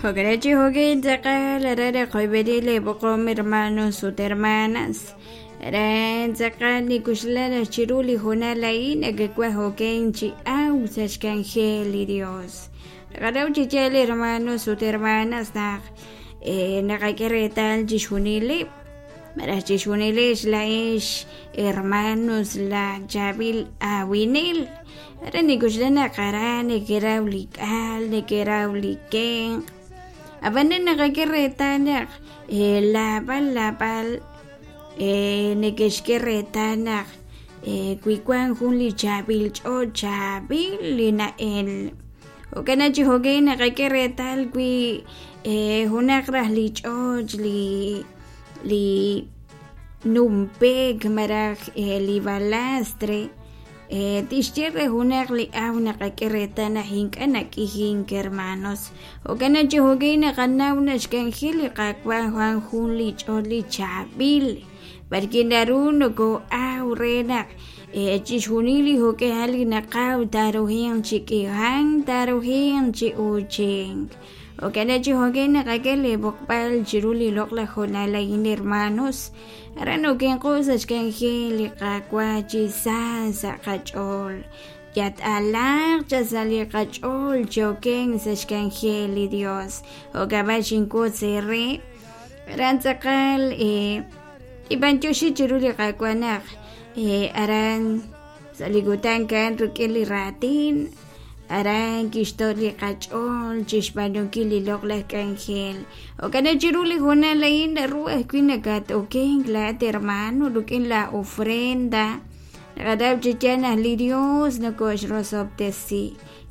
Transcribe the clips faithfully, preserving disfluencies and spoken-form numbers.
Jo'kan chi jo'kan tz'aqal aran naqoyb'eni leeb'oqom hermanos ut hermanas aran tz'aqal nikuxla naq chiru li hoonal a'in nakewaj oken chi awk sa' xk'anjel li Dios naqanaw chi yaal hermanos ut hermanas naq eh, naqak'e reetal chixjunileb' malaj chixjunilex la'ex hermanos la chaab'il awinel aran nikuxla naq aran nekeraw li k'al nekeraw li kenq' ab'anan naqak'e reetal naq eh, laab'al laab'al eh, nekexk'e reetal naq eh, wi wan jun li chaab'il ch'och chaab'il li na'el jo'kan chi jo'kan naqak'e reetal wi eh, junaq raj li ch'och li li numpek malaj eh, li balastre eh, tixye re junaq li aw naqak'e reetal naq ink'a' nak'ijink hermanos jo'kan chi jo'kan naqanaw naq xk'anjel li Qaawa' wan jun li ch'och li chaab'il b'arki naru nokoo'aw re naq eh, chixjunil li jo'k'ihal li naqaw taaruhinq chi k'ihank taaruhinq chi uuchink jo'kan chi jo'kan naqak'e leeb'oqb'al chiru li loq'laj hoonal a'in hermanos aran okenqo sa' xk'anjel li Qaawa' chi sa sa' qach'ool yat'alaq cha sa' li qach'ool chi oken sa' xk'anjel li Dios jo'kab'a xinkutz eere aran tz'aqal eh, ib'anyoxi chiru li Qaawa' naq eh, aran sa' li kutan kan rik'in li raatin aran kixto' li qach'ool chixb'aanunkil li loq'laj k'anjel jo'kan chiru li hoonal a'in naru ajwi' nakat-okenk laat hermano rik'in la ofrenda naqanaw chi yaal naq li Dios nokoxrosob'tesi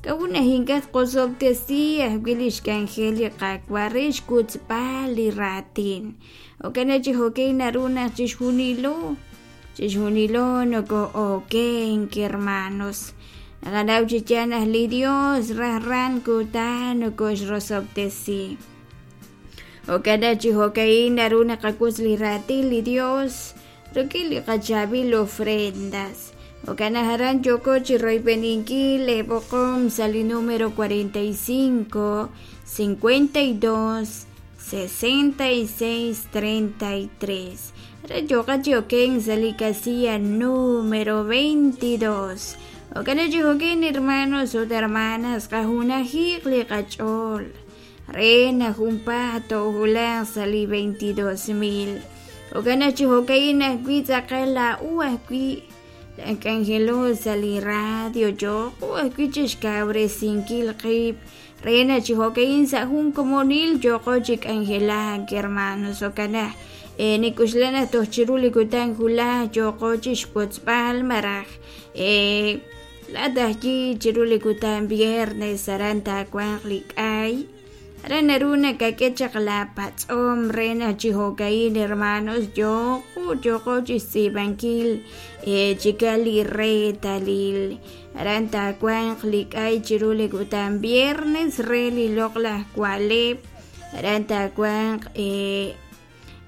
k'a'ut naq ink'a' tqosob'tesi ajwi' li xk'anjel li Qaawa' re xkutzb'al li raatin jo'kan chi jo'kan naru naq chixjunilo chixjunilo nokoo'okenk hermanos naqanaw chi yaal naq li Dios rajran kutan nokoxrosob'tesi jo'kan chi jo'ka'in naru naqakutz li raatin li Dios rik'in li qachaab'il ofrendas jo'kan naq aran yooko chi royb'eninkil leeb'oqom sa' li número cuarenta y cinco cincuenta y dos sesenta y seis treinta y tres aran yooqa chi okenk sa' li casilla número veintidós jo'kan chi jo'kan hermanos ut hermanas qajunajiq li qach'ool re naq junpaat toowulaq sa' li veintidós mil jo'kan chi jo'ka'in ajwi' tz'aqal laa'u ajwi' k'anjelo sa' li radio yooqo ajwi' chixkawresinkil qib' re naq chi jo'ka'in sa' jun komonil yooqo chi k'anjelak hermanos jo'kan naq eh, nikuxla naq toj chiru li kutan wulaj yooqo chixwotzb'al malaj eh, laat ajwi' chiru li kutan viernes aran taawanq li k'ay aran naru nakak'e chaq la patz'om re naq chi jo'ka'in hermanos yooqo yooqo chixtz'iib'ankil eh, chikal li reetalil aran taawanq li k'ay chiru li kutan viernes re li loq'laj wa'leb' aran taawanq eh,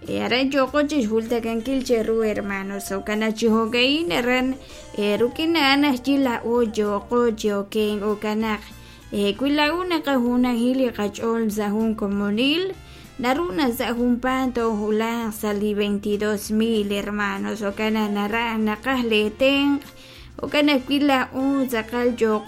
eh, aran yooqo chixjultakankil cheru hermanos jo'kan naq chi jo'ka'in aran eh, rik'in a'an ajwi' laa'o yooqo chi okenk jo'kan naq eh, wi laa'o naqajunaji li qach'ool sa' jun komonil naru naq sa' junpaat toowulaq sa' li veintidós mil hermanos jo'kan naq naraj naqaj leetenq' jo'kan ajwi' laa'o tz'aqal yooqo